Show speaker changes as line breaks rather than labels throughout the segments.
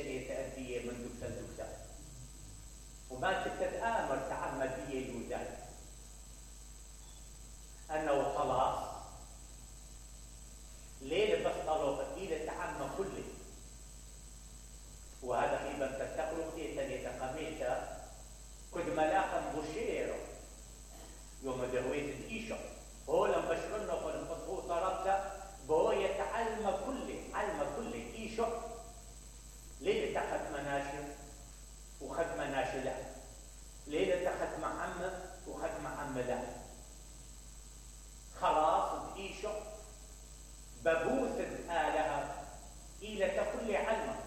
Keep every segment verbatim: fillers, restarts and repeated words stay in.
تنية تأدية من دكتور دكتور وما تتآمر تعمد بيه يوزان أنه خلاص ليلة بس طلوقة إلى تعمى كله وهذا خيبا تتقلق تنية قميشة كد ملاقا بشيره يوم دهويت الإيشة هو لما بشرنا فنفصه طربته بهو يتعلم كله علم كله إيشة ليلة تخت مناشر وخد مناشر له ليلة تخت معمة وخد معمة له خلاص بإيشة ببوث الآلهة إلى كل علمه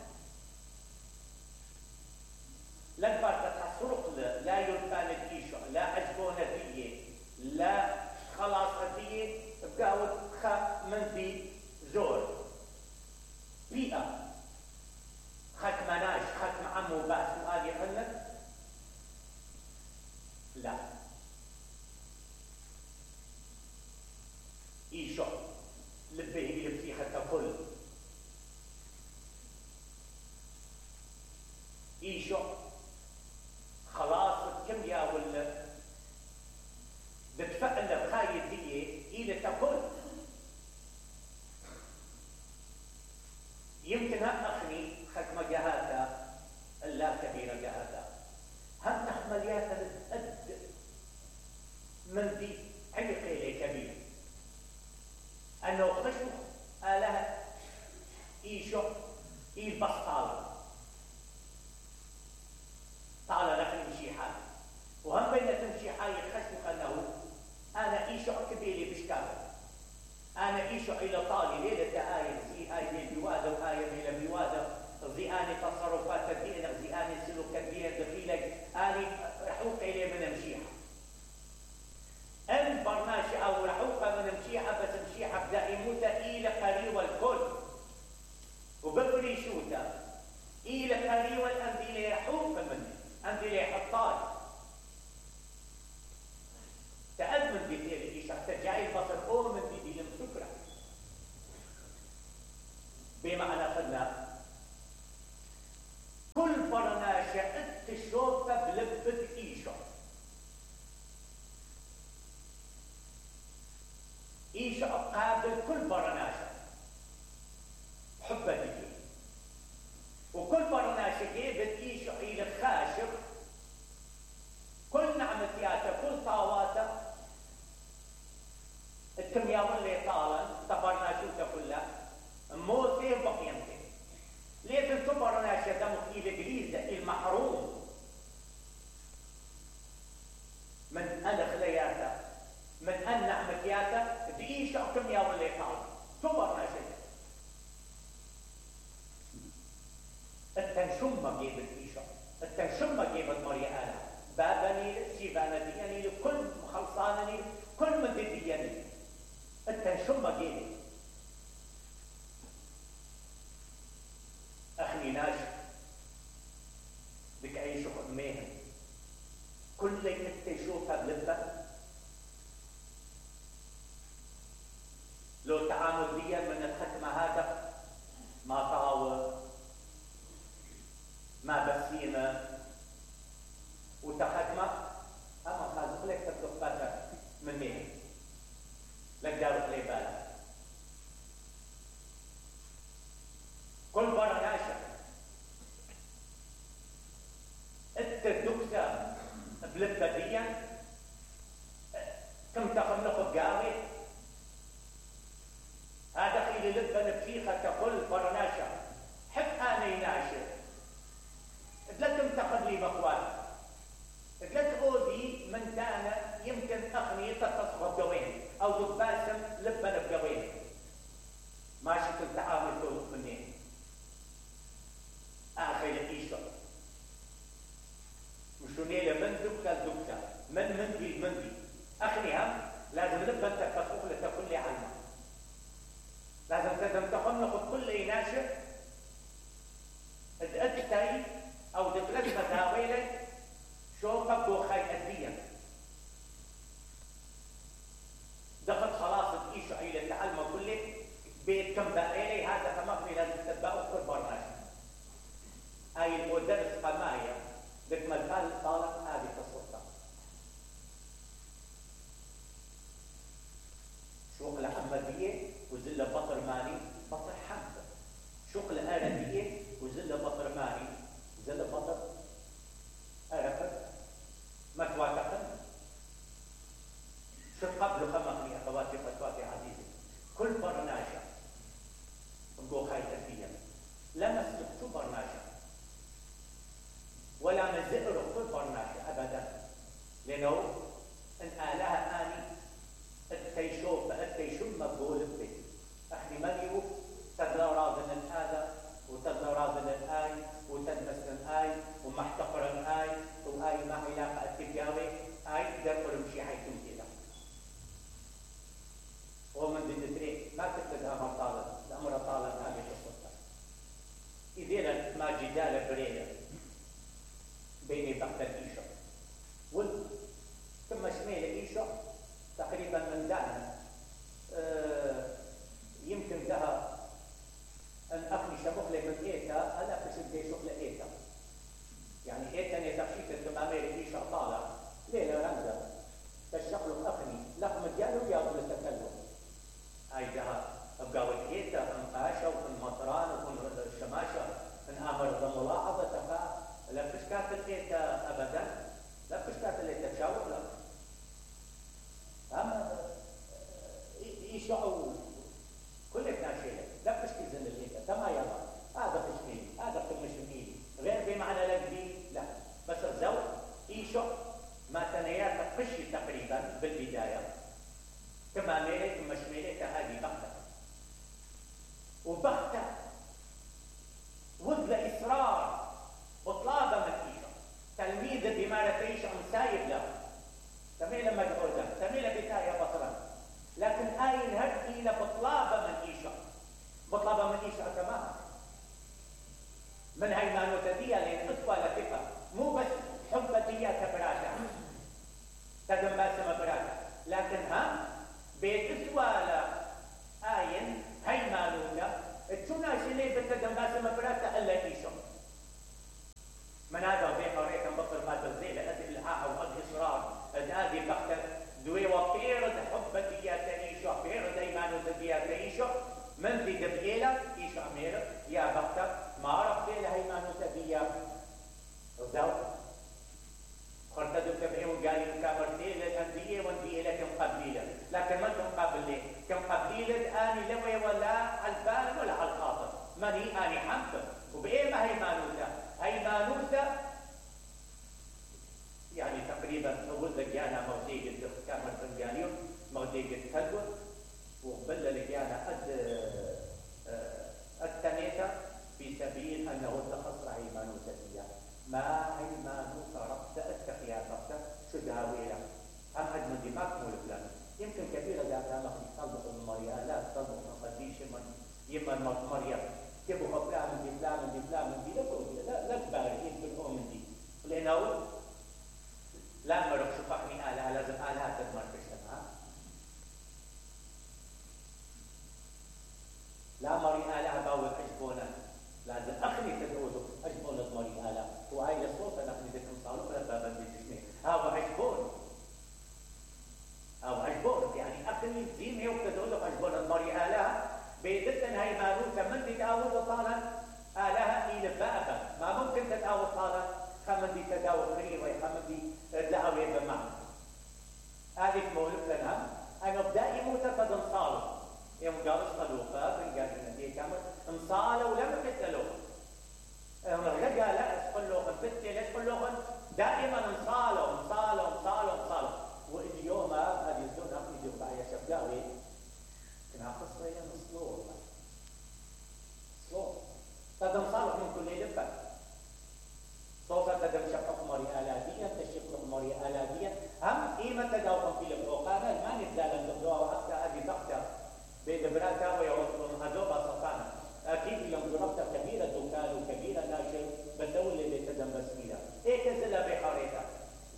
لا فرق تحصرق لا يلقى الإيشة لا عجبون فيه لا خلاص فيه بقاوت خا من ذي زور بيئة خات مناش خات معمو باس سؤال يحلك لا إيشة لبه يبسيخة كل إيشة خلاص كم يا ولا بتفعل بخاية دي إلى تقول يمكن هم أخني ختمة جهاتا اللا كبيرة جهاتا هم تحملياتها الأد من دي عيقي لي كبير أنه خشم آلها إيشو إيه بس طالة طالة لك نمشي حالي وهم بين تمشي حالي خشم أنه أنا إيشو كبيري بشكاله أنا إيشو إلى طالي ليلة آية زي آية من بيوادة وآية من بيوادة زياني تصرفات الدين زياني سلوك الدين دخيلك أنا رحوق إلي من مشيحة البرنامج أو رحوقة من مشيحة بس مشيحة بدأ يموت إلى قريوة الكل وبفري شوتا إلى قريوة الأمدي لي رحوقة منه أمدي لي حطال تأذن بذير إيش حتى جاي البصر أو من بذير المسكرة بمعنى قلنا كل برناشة اتشوفة بلبة إيشة إيشة قابل كل برناشة حبة دي وكل برناشة جيبت إيشة إلى خاشق كل نعمتياته كل طاواته التمياء اللي طالا تبرنا شوته كلها موتين بقيمتين ليه تنتبرنا شدمك إلى جليزة المحروم من أن خلياته من أن نعمتياته بإيش التمياء اللي طالا تبرنا شدة التنشمة جيبت إيشة التنشمة جيبت مريئانة بابني سيبانا دياني لكل مخلصانني كل من دي دياني التنشمة جيني أخني ناش بك أي شغل ميهم كل اللي تشوفها بلبة لو تعامل ديا من الختمة هذا ما طاوة ما بسيمة وتختمة أما خازق لك تطلق من مين لك دارك لي بالك كل برناشة هاي المدرس قماية بكمل قال طالب هذه السلطة شغل حمدية وزل بطر ماني بطر حمد شغل آلدية وزل بطر ماني زل بطر أرفت ما تواتقن شو قبل خمقني أخواتي فتواتي عزيزي كل برناشة نقول هاي تفيا لا مسلك برناشة ولا مزئر كل برناشة أبدا لأنه إن آلها آني التيشوف التيشم مقبول به أخي مليو تدلى راضن هذا وتدلى راضن الآي وتدمس الآي ومحتقر الآي وآي ما علاقة التجاوي آي دخل مشي حيثم كده ومن ضمن ذلك ما تكتب أمر طالب الأمر طالب هذه السلطة إذا ما جدال بريلة بين بقت الإيشة وال ثم شميل إيشة تقريبا من دانا أه يمكن لها أن أخلي شبخلة من إيتا أنا أخشب دي شغلة إيتا يعني إيتا نتخشيت التمامير إيشة طالع ليلة رمزة تشغل أخني لقم الجالو يابل التكلم هاي جها أبقاوة إيتا أنقاشة وأنمطران وأنشماشة أن أمر ملاحظة تفا لا تشكات الإيتا أبدا لا تشكات الإيتا تشاور لك أما يشعوا كل ناشئة لا تشكي زن الإيتا تما يلا هذا تشكيل هذا تمشميل غير بمعنى لقبي لا بس الزوج يشع ما تنيات قشي تقريبا بالبداية كما ميلت مشميلة هذه بغتة وبغتة وذل إصرار وطلابة مكيشة تلميذ بما تعيش عن سايب له تميل مجهودا تميل بداية بطرا لكن آين هدي لبطلابة من إيشا بطلابة من إيشا كمان من هاي مانوتدية لأن أطفى لفقة مو بس حبتية كبراتا تدم باسم براتا لكن هم بيتسوى آين هاي مانوتة تشونا شلي بتدم باسم براتا ألا إيشا من هذا بيقى ريكا بطل ما تزيل أدي الحاحة وأدي إصرار أدي بختر دوي وبيرد حبتية تنيشا بيرد أيمانو تدية تنيشا من ذي دبيلة إيشا مير يا بختر ما عرف بيلة أيمانو تدية وزاو خرطدو كبهي وقالي كامرتين للأنبياء وانبياء لكم قبليلة لكن ما كم قبلي كم قبليلة آني لوي ولا على البال ولا على الخاطر ماني آني حمد وبإيه ما هيمانوتا هيمانوتا يعني تقريبا أقول لك أنا موديك كامل فنجانيو موديك تلقل وقبل لك أنا قد التنيتا في سبيل أنه تخصر هيمانوتا فيها ما هيمانوتا ربط التقيا ربط شو داويلة أم حد من دماغ مولفلان يمكن كثيرا ذات أمخي تطلق من مريا لا تطلق من قديش من يمن مريا كيفوا خطلع من دي فلان من دي فلان من دي لا لا تبارك يمكن هو من دي لأنه لا مرق شفقني آلها لازم آلها تدمر بشتمها لا مري آلها باوي أجبونا لازم أخلي تدعوه أجبونا مري آلها وهاي لصوفة نخلي ذكم صالح ولا بابا بيجشني هاو أجبون هاو أجبون يعني أخلي زيمي وتدعوه أجبونا مري آلها بيدتن هاي مالوتا من تتعود طالا آلها إلى بابا ما ممكن تتعود طالا خمن دي تداول خير ويخمن دي دعوة بمعنى هذه مولف لنا أنا بدأ يموت قد انصالوا يوم قالوا صلوفا بنقال إن دي كامل انصالوا ولم يقتلوا هم رجع لا اسقلوهم بنتي لا اسقلوهم دائما انصالوا انصالوا انصالوا انصالوا واليوم هذه الزون أخذ يجب يا شبقاوي كنا قصة هي مصلوب صلوب قد انصالوا من كل لبا صوفا تدم شقق مري آلادية تشقق مري آلادية هم قيمة تداوم في الفوقانا ما نزال الدكتور وحتى هذه بختة بين براتا ويوصلون هدوبا صفانا أكيد يوم ضربت كبيرة دكان وكبيرة ناشر بدول اللي تدم بسميلة إيه كزلا بحاريتا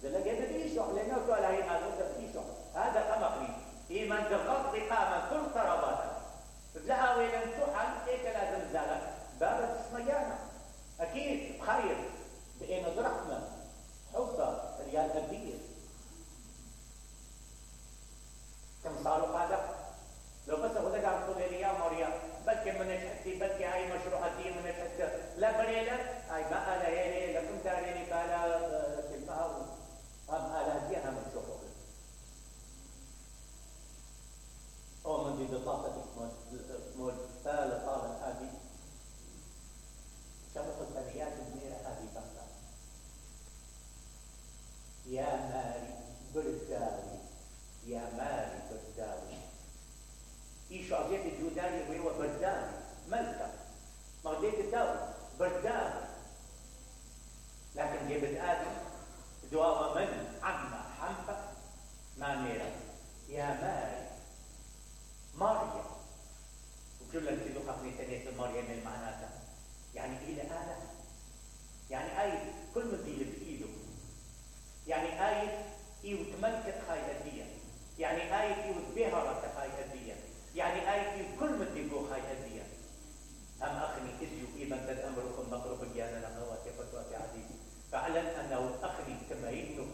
زلا جد بيشوح لأنه قال هاي مالوتا بيشوح هذا خمقني إيمان تغطي قامة كل طرباتا تلاقوا وين تحن إيه لازم زالك بابا تسميانا أكيد يعني بدأت دواما من عما حنفة ما ميرا يا ماري مريم وكل اللي قبل تنيت مريم المعناتها يعني إلى آلة يعني آية كل من دي بإيده يعني آية إيو تملكت هاي هدية يعني آية إيو تبهرت هاي هدية يعني آية إيو كل من دي بو هاي هدية أم أخني إزيو إيمان تد أمركم مقرب الجانة لغواتي فتواتي عزيزي فعلا أنه أخني تمينه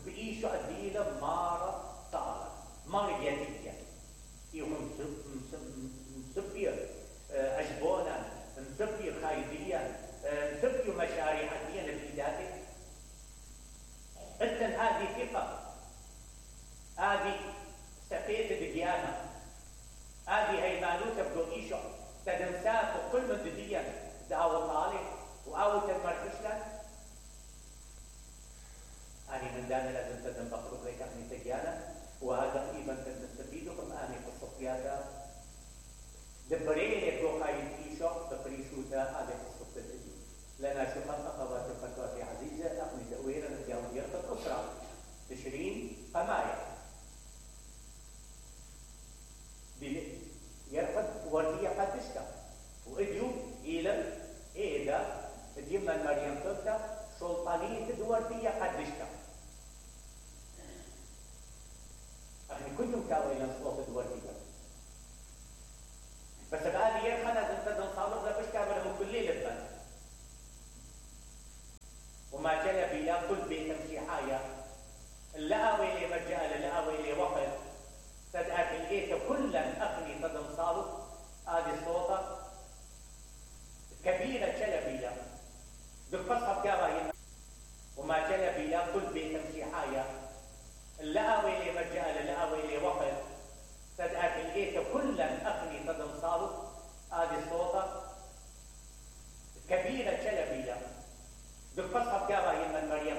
بإيشو أديلة مارة طالة مريانية إيو مسبير عجبونا مسبير خايديا مسبير مشاريع عديا لبإيداتك إذن هذه ثقة هذه سفيت الديانة هذه هيمانوتة بدو إيشو تدمسات وكل من دديا دعوة طالب وأول تدمركشلا أنا من دانا لازم تدم بقرب لك أخني تجانا وهذا تقريبا تستفيدكم أني في الصفيات دبرين يبدو خايل إيشو دبريشوتا هذه الصفة الدي لنا شفت أخوات الفتوى عزيزة أخني تأويرا نتياو ديرة أسرة تشرين قمايا يرفض وردية قدشتا وإديو إلى إيدا ديما مريم تلتا سلطانية وردية قدشتا أخي كنتم كاوينا صوت وردية بس بعد يرخنا زنتدن صالح لبش كابلهم كل ليلة بس وما جل بلا كل بيت مسيحايا اللقاوي اللي مجال اللقاوي اللي وقت تدعك الإيت كلا أخني تدن صالح هذه الصوتة كبيرة جلبية بالقصة بكاوي وما جلبية كل بيت مسيحايا اللقاوي اللي مجال اللقاوي اللي وقت تدعك الإيت كلا أخني تدن صالح هذه الصوتة كبيرة جلبية بالقصة بكاوي من مريم